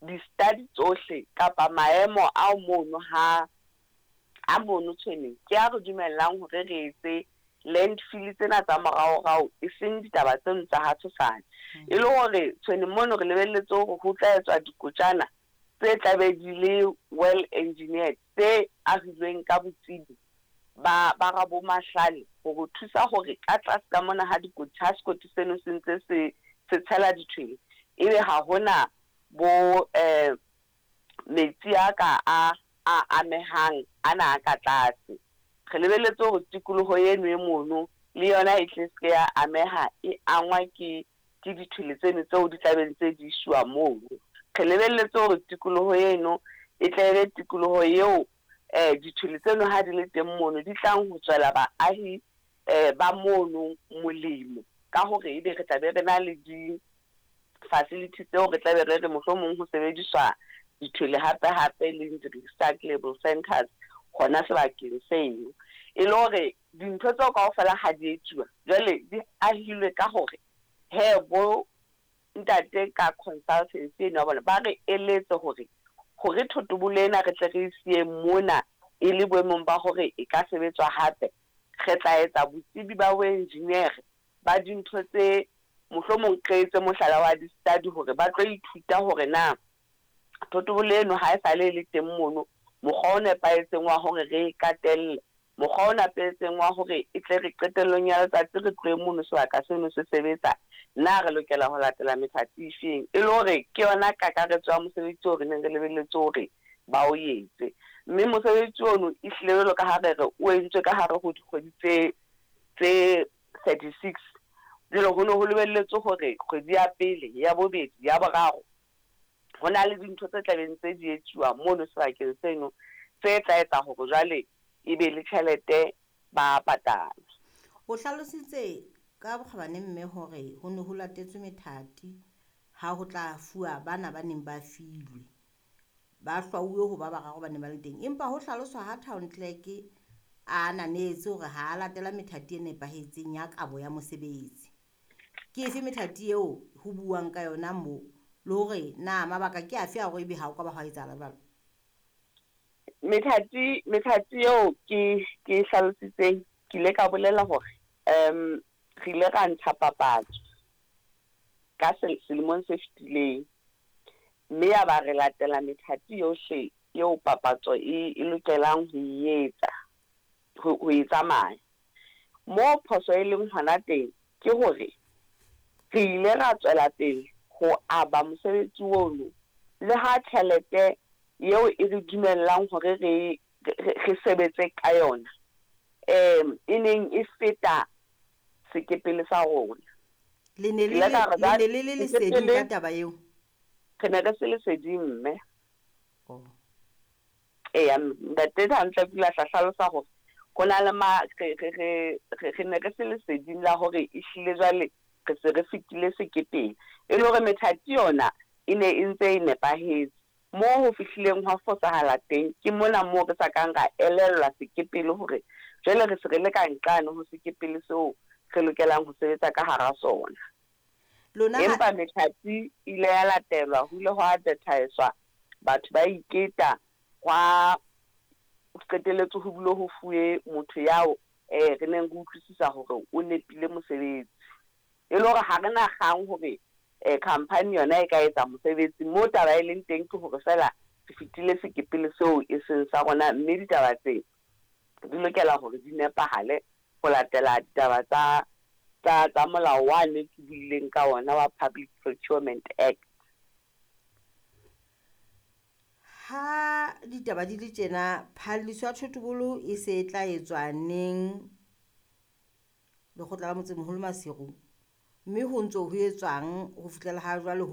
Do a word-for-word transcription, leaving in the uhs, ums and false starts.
Di-study tsohle kapa maemo ao mono ha a mono Tshweneng ke a re dumellang hore re etse landfill tsena tsa moraorao, e seng ditaba tseno tsa ha tshosane. E le hore Tshweneng mono re lebelletse hore ho tla etswa dikotjana tse tlabe di le well engineered, tse ahilweng ka botsebi ba ba rabomahlale hore thusa hore ka tlase ka mona ha dikoti ha sekoti seno se ntse se se tshela dithwele, ebe ha hona bo eh metsi a ka a a amehang ana a ka tlase. Re lebelletse hore tikoloho eno e mono le yona e tle se ya ameha e angwa ke ke dithwele tseno tseo di tlabeng tse di iswa mono. Re lebelletse hore tikoloho eno e tle be tikoloho eo eh dithwele tseno ha di le teng mono di tlang ho tswela baahi eh ba mono molemo, ka hore ebe re tla be re na le di facility tseo re tla be re re mohlomong ho sebediswa dithwele hape hape le di-recyclable centers hona sebakeng seno. E le hore dintho tseo kaofela ha di etsuwa jwale di ahilwe ka hore he bo ntate ka consultancy eno ya bona ba re eletse hore hore thotobolo ena re tle re e siye mona e le boemong ba hore e ka sebetswa hape, re tla etsa botsebi ba boenjiniere ba dintho tse mohlomong re etse mohlala wa di-study hore ba tlo ithuta hore na thotobolo eno ha e sale e le teng mono mokgwa o nepahetseng wa hore re e katelle, mokgwa o nepahetseng wa hore e tle re qetellong ya letsatsi re tlohe mono sebaka seno se sebetsa, na re lokela ho latela methati efeng. E le hore ke yona kakaretso ya mosebetsi oo re neng re lebelletse hore ba o etse. Mme mosebetsi ono ehlile jwalo ka ha re re o entswe ka hare ho dikgwedi tse tse thirty-six. Jwale ho ne ho lebelletswe hore kgwedi ya pele, ya bobedi, ya boraro ho na le dintho tse tlabeng tse di etsuwa mono sebakeng seno tse tla etsa hore jwale e be le tjhelete ba patala. O hlalositse ka bokgabane mme hore ho ne ho latetswe methati ha ho tla fuwa bana ba neng ba filwe, ba hlwauwe ho ba bararo ba neng ba le teng. Empa ho hlaloswa ha town clerk a ananetse hore ha a latela methati e nepahetseng ya kabo ya mosebetsi. Ke efe methati eo ho buuwang ka yona moo, le hore na mabaka ke afe a hore ebe ha o ka ba hwa etsahala jwalo? Methati methati eo ke ke hlalositseng, ke ile ka bolela hore um re ile ra ntsha papatso ka selemong se fetileng, mme ya ba re latela methati yohle eo papatso e e lokelang ho e etsa ho ho e tsamaya. Moo phoso e leng hona teng ke hore re ile ra tswela pele ho aba mosebetsi ono le ha tjhelete eo e re dumellang hore re re sebetse ka yona um e neng e feta sekepele sa rona. Le ne le le ne le le leseding ka taba eo? Re ne re se leseding mme. Oh. Eya, ntate hantle pula tla hlalosa hore ho na le ma re re re re ne re se leseding la hore ehlile jwale re se re fetile sekepele. E le hore methati yona e ne e ntse e nepahetse. Moo ho fihlileng hwa fosahala teng ke mona moo re sa kang ra elellwa sekepele hore jwale re se re le ka nqane ho sekepele seo re lokelang ho sebetsa ka hara sona. Lona Empa methati ile ya latelwa, ho ile hwa advertise-wa, batho ba iketa, hwa qetelletse ho bile ho fuwe motho yao eh re neng re utlwisisa hore o nepile mosebetsi. E le hore ha re na kgang hore eh company yona e ka etsa mosebetsi, mo taba e leng teng ke hore fela re fetile sekepele seo e seng sa rona, mme ditaba tse di lokela hore di nepahale ho latela ditaba tsa tsa tsa molao wane ke buileng ka ona wa Public Procurement Act. Ha ditaba di le tjena, phalliso ya thotobolo e se e tla etswa neng lekgotla la motsemoholo Maseru, mme ho ntso ho etswang ho fihlela ha jwale ho